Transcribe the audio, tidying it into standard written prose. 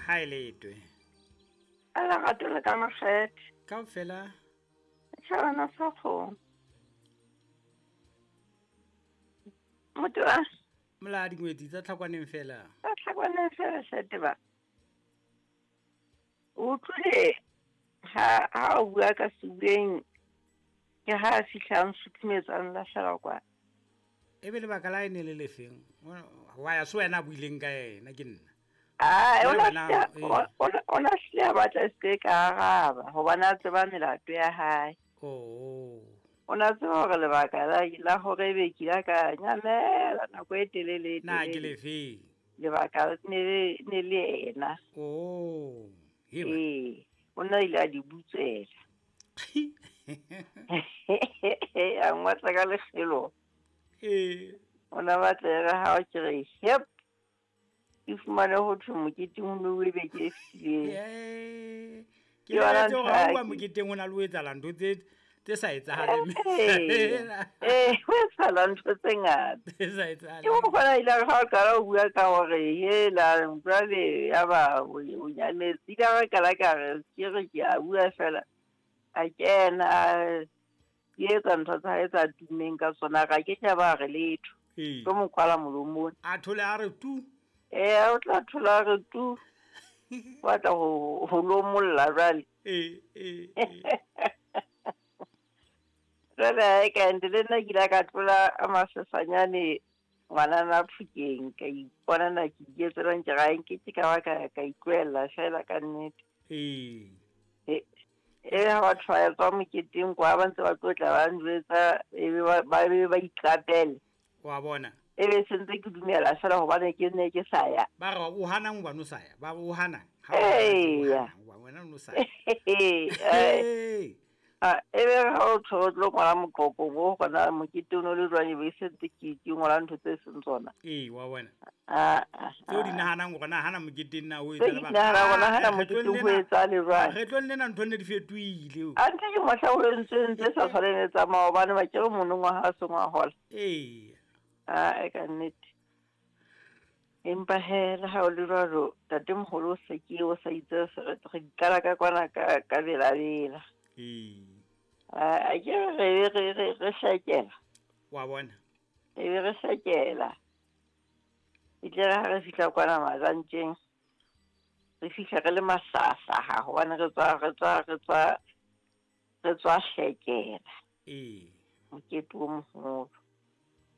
Ha e letwe. A lerato le ka makgethe. Kaofela. Tjhabana sa kgomo. Motho wa Molaa dingwetsi tsa tlhakwaneng fela. Tsa tlhakwaneng fela shate ba. O utlwile ha ha o bua ka sebueng ke ha a fihla a nsuthumetsa a nlahlela kwa. E be lebaka la e ne le lefeng? Wa ya se wena a buileng ka yena ke nna. Ai, o na hlile a batla e se ka araba hobane a tseba melato ya hae. Oh. O na tseba hore lebaka la hore ebe ke ile ka nyamela nako e telele. Na ke lefeng? Lebaka ne le ena. Oh. Ee, o na ile a di butswela. A ngwatla ka lekgelo. Ee. O na batla e re ha o ke re hep. Ke fumane ho thwe moketeng ho ne o ebe ke e fetileng. Ke lebeletse hore ha o moketeng ho na le ho etsahala ntho tse sa etsahaleng. Ee, ho etsahala ntho tse ngata. Tse sa etsahaleng. Ke ho kgona ile ha o qala ho bua ka hore hela jwale ya ba o nyametse. Ile ra qala ka re ke re ke a bua fela. A kena ke etsa ntho tsa hae tsa tummeng ka tsona ga ke tla ba re letho. Ke mo kwala molomong. A thole a re tu. Ee, o tla thola a re tu. Batla ho lomolla jwale. Ee. Jwale ha e ka nte le nna ke ile ka tlola a masesanyane ngwanana Phokeng ka ipona na ke iketselang ke ga nke ke ka ba ka itlohella fela ka nnete. Ee. E ha batho ba tswa moketeng kwa ba ntse ba tlotla ba njwetsa e be ba be ba iqapele. Wa bona. E be sentse ke dumela fela hobane ke ne ke sa ya. Ba re o hanang hobane o sa ya. Ba re o hanang. Eya. Wena o sa ya. Ee. E be ha o tho tlo ngola moqoqong o gona mokete o no le jwang e be sentse ke ngola ntho tse seng tsona. Ee, wa bona. Tseo di nahanang hore na hana moketeng na o etsa le ba. Nahana hana moketeng ho etsa le jwang. Kgetlong lena ntho ne di fetohile. A ntse ke mohla o entsweng tse sa tshwaneng le tsa maobane ba ke re monongwaha ha sengwa hola. Ee. A e ka nnete. Empa he le ha o le jwalo ntatemoholo o se ke o sa itse re qala ka kwana ka belabela. Ee. A ke re re hlakela. Wa bona. E be re hlakela. E tle ha re fihla kwana Majantjeng. Re fihla re le mahlahlaha hobane re tswa hlekela. Ee. Mokete o moholo.